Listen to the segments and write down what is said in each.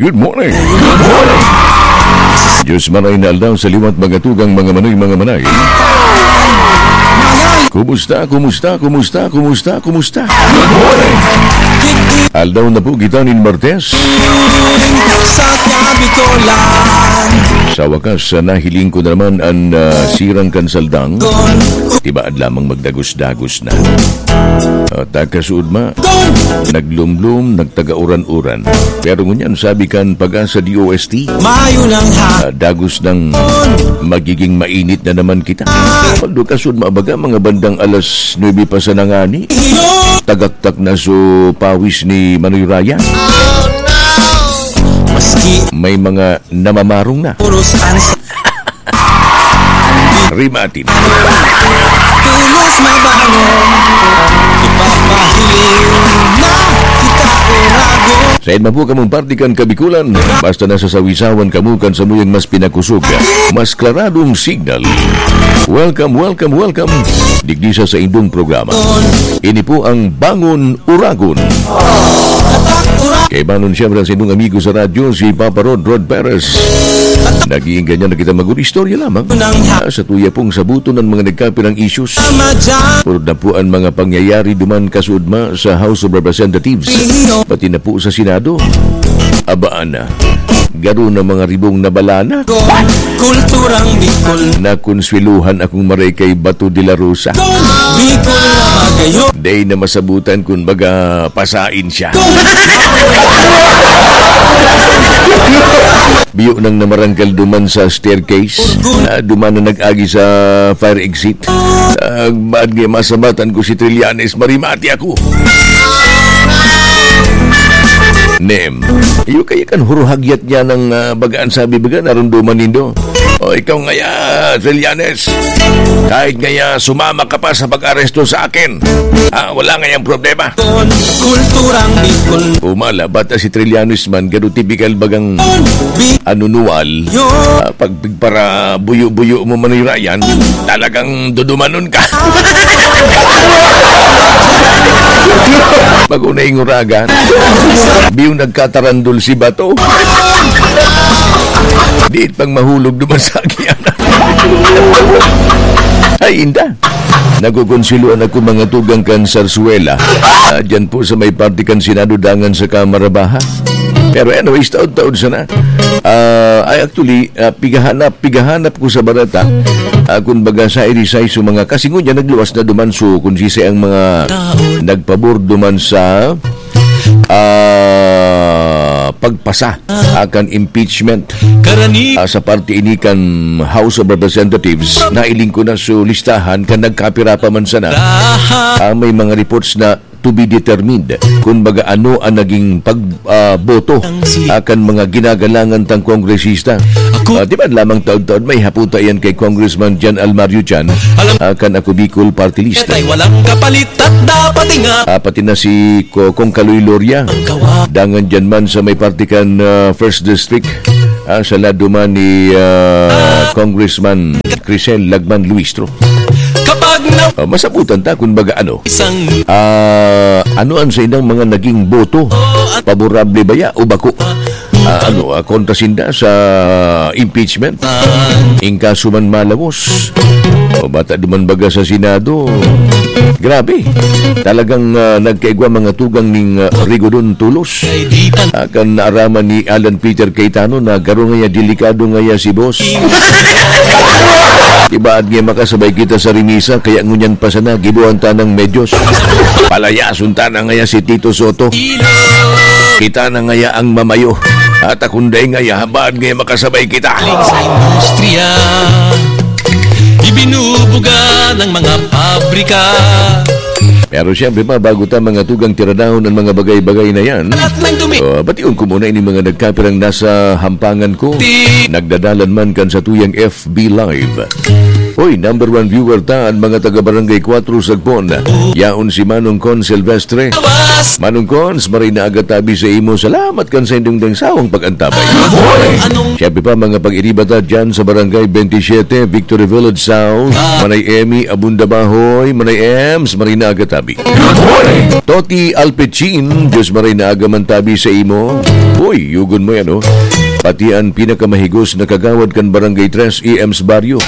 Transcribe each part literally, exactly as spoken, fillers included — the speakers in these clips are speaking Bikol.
Good morning. Diyos manay na aldaw sa liwat, mga tugang, mga manoy, mga manay. Kumusta, kumusta, kumusta, kumusta, kumusta? Aldaw na po kita nin Martes. Sa Kabikolan. Sa wakas, ah, nahiling ko na naman an, ah, sirang kan saldang. Tibaad lamang magdagos-dagos na. At, ah, kasuodma, naglumlom, nagtaga-uran-uran. Pero ngunyan, sabi kan Pag-asa D O S T, Mayo nang ha- ah, dagos nang magiging mainit na naman kita. Although kasuodma, baga, mga bandang alas nuebe pa sana ngani, iyo. Tagaktak na so pawis ni Manoy Ryan. Maski May mga namamarong na. Puros ansa. Rimatin. Puros mabangon. Ipapahiling na kita, Uragon. Sain man po kamong parte kan Kabikolan, basta nasa sawisawan kamo kan samuyang mas pinakusog, mas klaradong signal. Welcome, welcome, welcome. Digdi sa saindong programa. Ini po ang Bangon Uragon. Kaibanon siyempre ang saindong amigo sa radyo, si Papa Rod, Rod Perez. Nag-iinggan niya na kita mag-istorya lamang. Ah, sa tuya pong sabuton ang mga nagkapirang issues. Puro na po ang mga pangyayari duman kasuodma sa House of Representatives, pati na po sa Senado. Abaan na. Garo na mga ribong na balana. Kulturang Bicol. Nakonsuwelohan akong maray kay Bato de la Rosa. Bicol na magayon. Day na masabutan kun baga pasain siya. Biyo nang namarangkal duman sa staircase. Ah, duman na nag-agi sa fire exit. Ah, baad nga masabutan ko si Trillanes, marimati ako. Nem. Iyo kaya kan huruhagyat niya ng, ah, bagaan sabi baga, narunduman nindo. O, ikaw ngaya, Trillanes. Kahit ngaya sumama ka pa sa pag-aresto sa akin, ah, wala ngayang problema. Kulturang Bicol. Umala, bata si Trillanes man, garo tipikal bagang anunual. Ah, pag para buyo-buyo mo, Manoy Ryan, talagang dudumanon ka. Pag unay nguragan, biyo nagkatarandol si Bato. Diit pang mahulog duman sa agianan. Ay, inda. Nagkukonsuluan ako, mga tugang, kan Zarzuela. Ah, dyan po sa may parte kan Senado, dangan sa Kamara Baha. Pero anyways, taod-taod sana. Ah, ay, actually, ah, pigahanap, pigahanap ko sa barata. Ah, kun baga sa irisay sa mga, kasi ngunyan nagluwas na duman, so kun sisay ang mga nagpabor duman sa, ah, pagpasa akan impeachment. Karani- Ah, sa parte ini kan House of Representatives, nailing ko na so listahan kan nagkapira pa man sana. Ah, may mga reports na to be determined. Kun baga ano ang naging pag, ah, boto akan mga ginagalangan tang kongresista. Ako Ah, di ba lamang taod-taod may haputa yan kay Congressman John Almario Chan, Alam- akan Ako Bicol Party List. Katay walang kapalit at dapat ingat. Ah, pati na si Ko-, Kong Kaloy Loria. Ang kawa- Dangan dyan man sa may parte kan, ah, First District, ah, sa lado man ni, ah, Congressman Crisel Lagman Luistro. Kapag na- Ah, masabutan ta kun baga ano. Isang Ah, ano ang sa ilang mga naging boto? Paborable ba ya o bako? Ah, ano, ah, kontra sinda sa impeachment? In kaso man malawos. O bata duman baga sa Senado. Grabe. Talagang, ah, nagkaigwa mga tugang ning, ah, Rigodon Tulos. Akan naaraman ni Alan Peter Cayetano na garo ngaya delikado ngaya si boss. Tibaad nga makasabay kita sa remisa, kaya ngunyan pa sana, gibohan ta ng medyos. Palayason ta na ngaya si Tito Soto. Kita na ngaya ang mamayo. At akunday ngaya, baad ngaya makasabay kita. Sa industriya, ibinubuga ng mga pabrika. Pero siyempre pa, bago ta mga tugang tiradahon ang mga bagay-bagay na yan, Alat ng dumi. Oh, bation ko muna ini mga nagkapirang nasa hampangan ko. Ti- Nagdadalan man kan sa tuyang F B Live. Hoy, number one viewer ta, an mga taga Barangay Cuatro Sagpon. Yaon si Manong Con Silvestre. Manong Cons, maray na aga tabi sa imo. Salamat kan sa indong dang sawang pag-antabay. Siyempre pa, mga pag-iriba ta dyan sa Barangay twenty-seven, Victory Village South. Manay Emmy, Abunda Bahoy, Manay Ems, maray na aga tabi. Toti Alpecin, Diyos maray na aga man tabi sa imo. Hoy, yugon mo yan, oh. Pati an pinakamahigos na kagawad kan Barangay Tres E M's Barrio,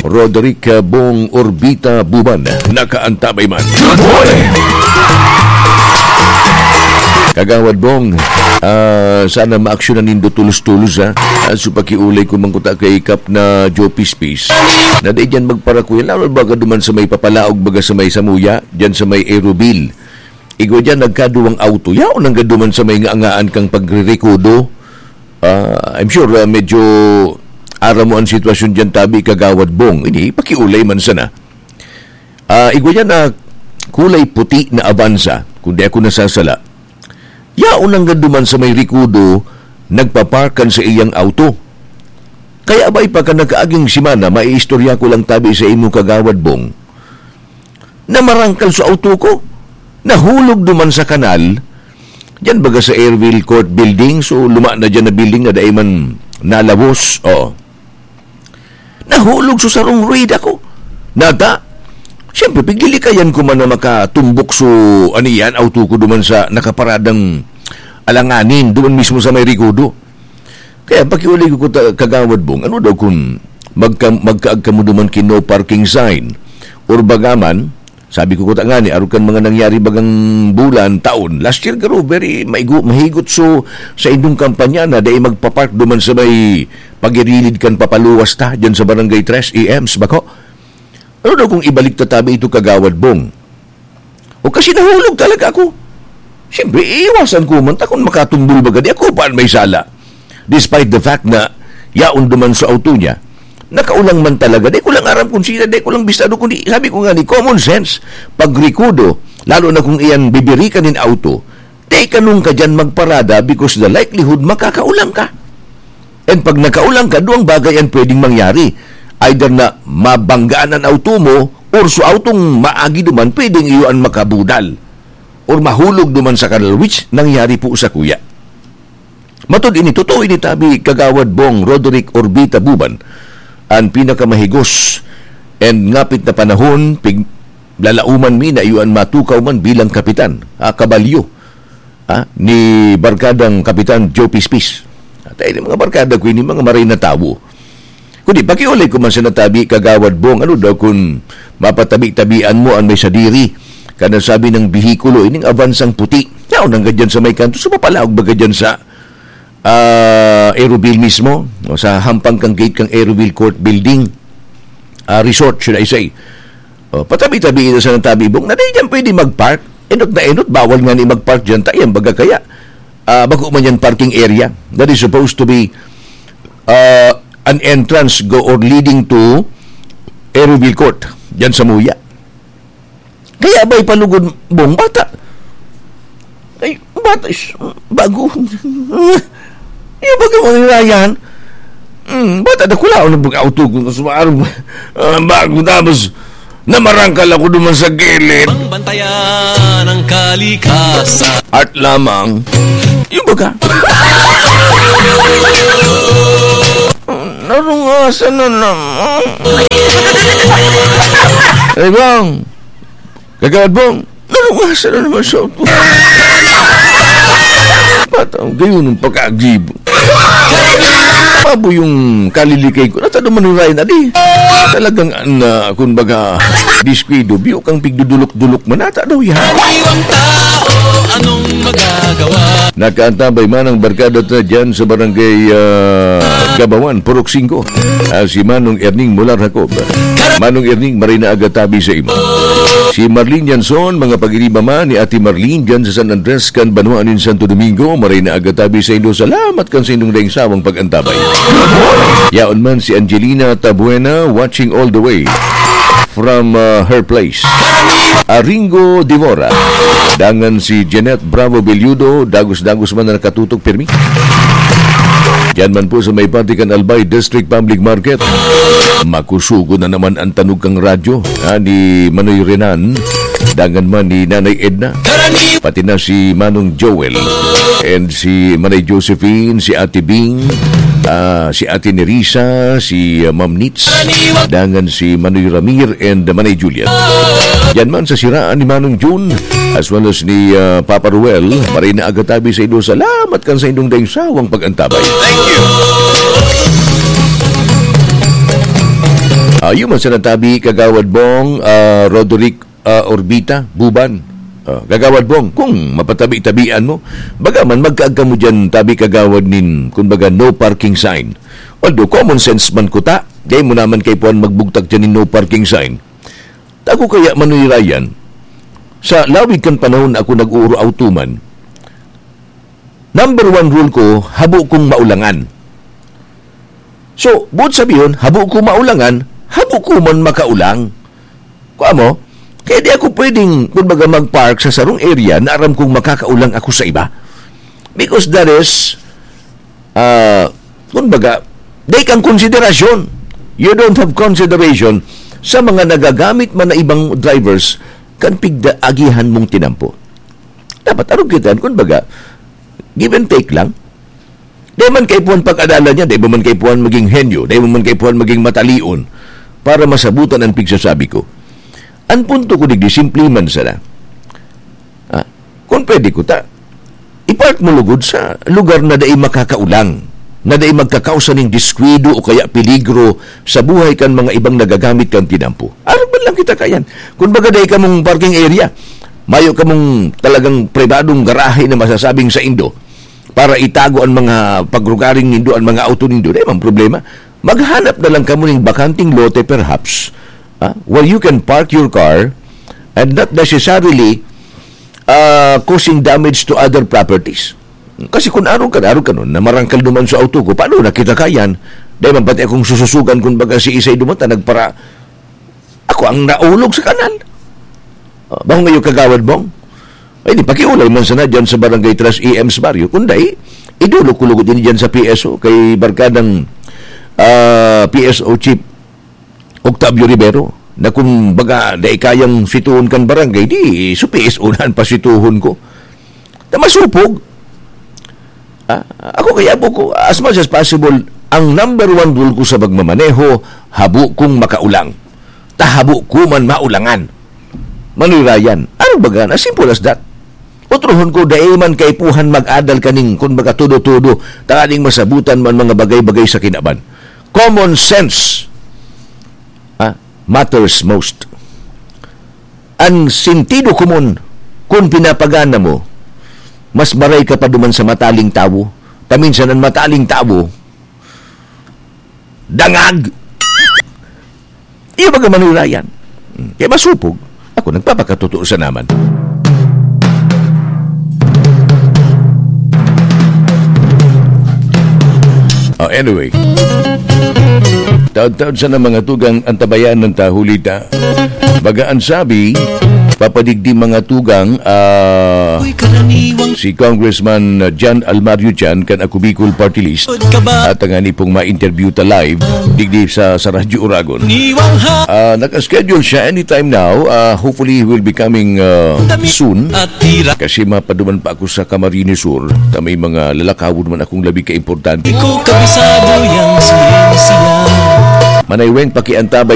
Roderick Bong Orbita Buban, nakaantabay man. Kagawad Bong, ah, sana maaksyonan nindo tulos-tulos, ha? Ah, so pakiulay ko man kuta kay Kap na Joe Pispis. Na di dyan magparakuya, lalo baga duman sa may papalaog, baga sa may Samuya, dyan sa may Aeroville. Igwa dyan, nagkaduwang auto. Yaon ang gaduman sa may ngaangaan kang pagririkodo. Ah, I'm sure, ah, medyo aram mo ang sitwasyon dyan, tabi, Kagawad Bong. Ini, pakiulay man sana. Ah, igwa dyan na kulay puti na Avanza, kung di ako nasasala. Yaon ang gaduman sa may rikodo, nagpaparkan sa iyang auto. Kaya abay pa ka nakaaging simana, maiistorya ko lang tabi sa imo, Kagawad Bong, na marangkal sa auto ko. Nahulog duman sa kanal. Diyan baga sa Airville Court Building. So, luma na diyan na building na dai man nalabos. Oh. Nahulog sa sarong rueda ko. Nata, siyempre, pigdilikayan ko man na makatumbok so, ano yan, auto ko duman sa nakaparadang alanganin, duman mismo sa may rikodo. Kaya pakiulay ko kuta, Kagawad Bong, ano daw kun magka-, magkaag kamo duman ki no parking sign? Or baga man, sabi ko kuta ngani, arog kan mga nangyari bagang bulan, taon. Last year, garo, very maigo-, mahigot so sa indong kampanya na dai magpapark duman sa may pagirilid kan papaluwas ta, dyan sa Barangay Tres E M's, bako? Ano daw kung ibalik ta tabi ito, Kagawad Bong? O kasi nahulog talaga ako. Siyempre, iiwasan ko man ta kung makatumbol baga di ako pa an may sala. Despite the fact na yaon duman sa auto niya, nakaulang man talaga. Di ko lang aram kung sino, di ko lang bistado, kundi sabi ko nga ni, common sense, pagrikodo, lalo na kung iyan bibirikan nin auto, di kanong ka dyan magparada because the likelihood makakaulang ka. And pag nakaulang ka, duwang bagay ang pwedeng mangyari. Either na mabanggaan an auto mo, or so autong maagi duman, pwedeng iyo an makabudal or mahulog duman sa kanal, which nangyari po sa kuya. Matod ini, totoo ini tabi, Kagawad Bong Roderick Orbita Buban, an pinakamahigos and ngapit na panahon, pig-, lalauman mi na iyo an matukaw man bilang kapitan, ah, kabalyo, ah, ni Barkadang Kapitan Joe Pispis. At ay, mga barkada ko ini, mga maray na tawo. Kundi, pakiulay ko man sa natabi, Kagawad Bong, ano daw kun mapatabi-tabian mo an may sadiri? Kada sabi ng bihikulo, ining avansang puti. Yaon hanggang dyan sa may kanto, sa mapalaog baga dyan sa, ah, Aeroville mismo, o sa hampang kang gate kang Aeroville Court Building, ah, Resort, should I say. O, patabi-tabi ito sa natabi, Bong, na di dyan pwede mag-park. Enot na enot, bawal nga ni mag-park dyan, tayan, baga kaya. Ah, bako man yan parking area that is supposed to be, ah, an entrance go or leading to Aeroville Court, dyan sa Muya. Kaya ba'y palugod, Bong, bata? Ay, bata, is, bago. Yung baga mga yan. Hmm, bata, dakulaon ang pag-auto ko sa maarong, ah, bago, tapos namarangkal ako duman sa gilid. Pangbantayan ang kalikasan. Art lamang. Yung baga. Narungasan na naman. Ay, Bong. Kagawad, Bong. Narungasan na naman sa upo. Patang gayon ang pagkagibo. Pabo yung kalilikay ko. Nata naman ni Ryan, adi. Talagang, na, kumbaga, diskwido. Biyo kang pigdudulok-dulok man. Nata daw yan. Iwang tao, anong magagawa? Nakaantabay man ang barkada ta dyan sa barangay, ah, Gabawan, Purok singko. Ah, si Manong Erning Mular Jacob. Manong Erning, maray na aga tabi sa imo. Si Marlene Yanson, mga pag-iriba man ni Ate Marlene dyan sa San Andres kan Banwa nin Santo Domingo, maray na aga tabi sa inyo. Salamat kan sa inyong daing sawang pag-antabay. Yaon man si Angelina Tabuena, watching all the way from, uh, her place. Aringo Divora. Dangan si Jeanette Bravo Belludo, dagos-dagos man na nakatutok pirmi. Yan man po sa may parte kan Albay District Public Market. Makusugo na naman ang tanog kang radyo, ha, ni Manoy Renan, dangan man ni Nanay Edna, pati na si Manong Joel, and si Manay Josephine, si Ate Bing, ah, si Ate Nerissa, si, ah, Ma'am Nits, dangan si Manoy Ramir, and Manay Juliet. Yan man sa siraan ni Manong Jun, as well as ni, ah, Papa Ruel, maray na aga tabi sa inyo. Salamat kan sa inyong daing sawang pag-antabay. Thank you. Ayo man sa natabi, Kagawad Bong, ah, Roderick, ah, Orbita, Buban. Ah, Kagawad Bong, kung mapatabi-tabian mo, baga man, magkaag kamo dyan, tabi kagawad nin, kumbaga, no parking sign. Although, common sense man kuta, dai mo naman kaipuhan magbugtak dyan nin no parking sign. Tako kaya, Manoy Ryan, sa lawig kan panahon na ako nag-uuro-auto man, number one rule ko, habo kong maulangan. So, buot sabihon, habo ko maulangan, habo ko man makaulang. Kua mo? Kaya di ako pwedeng, kumbaga, mag-park sa sarong area na aram kong makakaulang ako sa iba. Because that is, ah, kumbaga, dai kang konsiderasyon. You don't have consideration sa mga nagagamit man na ibang drivers kan pigda-, agihan mong tinampo. Dapat arog kita, kumbaga, give and take lang. Dai man kaipuhan pag-adalan niya, dai man kaipuhan maging henyo, dai man kaipuhan maging matalion para masabutan an pigsasabi ko. An punto ko digdi, simple man sana. Ah, kung pwede ko ta, i-park mo lugod sa lugar na dai makakaulang, na dai magkakausa ning diskwido o kaya peligro sa buhay kan mga ibang nagagamit kan tinampo. Arog man lang kita kayan. Kung baga dai kamong parking area, mayo kamong talagang pribadong garahe na masasabing sa indo para itago an mga pagrugaring nindo, an mga auto nindo, dai man problema. Maghanap na lang kamo ning bakanting lote perhaps, ah, where you can park your car and not necessarily, ah, causing damage to other properties. Kasi kung arog ka, arog ka nun, na marangkal duman sa auto ko, paano na kita kayan? Dai man pati akong sususugan kung baga si isay duman ta nagpara-, ako ang naulog sa kanal. Ah, bang mayo, Kagawad Bong? Ay, di, pakiulay man sana dyan sa Barangay Tres E M's Barrio. Kung dai, idulog ko lugod ini dyan sa P S O, kay barkadang, ah, P S O Chief Octavio Rivero, na kung baga dai kayang situhon kan barangay, di, su P S O na an pasituhon ko. Na masupog. Ah, ako kaya po ko, as much as possible, ang number one rule ko sa pagmamaneho, habo kong makaulang. Ta habo ko man maulangan. Manoy Ryan, ano baga na simple as that? Otrohon ko, dai man kaipuhan mag-adal kaning, kun baga, todo-todo, tanganing masabutan man mga bagay-bagay sa kinaban. Common sense, ah, matters most. Ang sentido komon, kung pinapagana mo, mas maray ka pa duman sa mataling tawo. Paminsan ang mataling tawo, dangag. Iyo baga manurayan. Hmm, kaya masupog. Ako, nagpapakatotoo sa naman. Oh, anyway. Taod-taod sana mga tugang antabayanan ta, huli ta. Baga an sabi, papadigdi mga tugang, ah, si Congressman John Almario Chan kan Ako Bicol Party List. At ang ani pong ma-interview ta live, digdi sa, sa Radyo Uragon. Ah, naka-schedule siya anytime now. Ah, hopefully, he will be coming, ah, soon. Kasi mapaduman pa ako sa Camarines Sur, ta may mga lalakawon man akong labi ka importante. Di ko kabisado yang siya. Manay Weng, pakiantabay